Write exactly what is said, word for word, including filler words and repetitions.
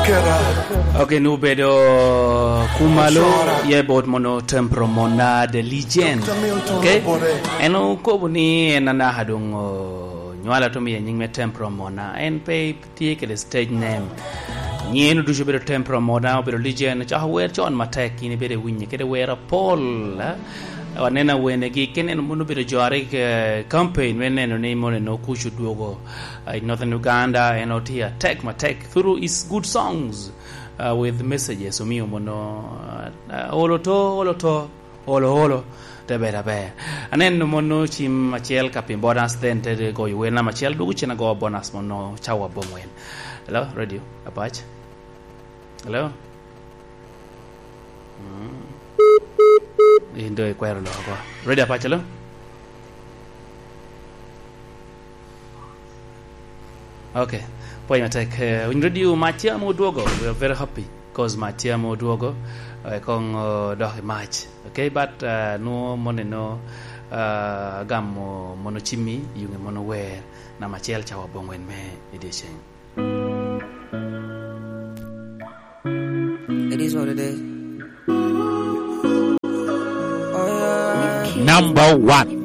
Ok, nu bedo kumalo, ye bot mono Tempro Mona de Legend. Ok? En okobo ni en anaka doŋ o, nywala to miye nying me Tempro Mona. En pe tye kede stage name. Nyiŋe nu ducu obedo Tempro Mona, obedo Legend, ocako wer con matek, in ibedo iwinye kede wer apol, eh? Waneno awenegi, kene en mono obedo jo a rik, eh, campaign me neno ni mono en okuc odwogo, eh, i Northern Uganda, en otye atek matek through his good songs, uh, with messages, omio mono, uh, olo to, olo to, olo, olo, te bedo aber. Aneno mono cim acel ka piny bonus, then te goyo wer namba acel, dwogo cen ago bonus mono cawa abongwen. Hello, Radio Apac. Hello? Mm. In do ikwero loko. Radio Apac, hello? Ok. Pwony matek. Eh, Winy Radio, Mac tye ame odwogo. We are very happy 'cause Mac tye ame odwogo. Eh, koŋ, oh, dok i Mac. Ok, but, uh, nwo mono eno, uh, agamo mono cimmi, yuŋe mono wer, namba acel cawa abongwen me i dyeceŋ. It is what it is. Oh, yeah. Number one.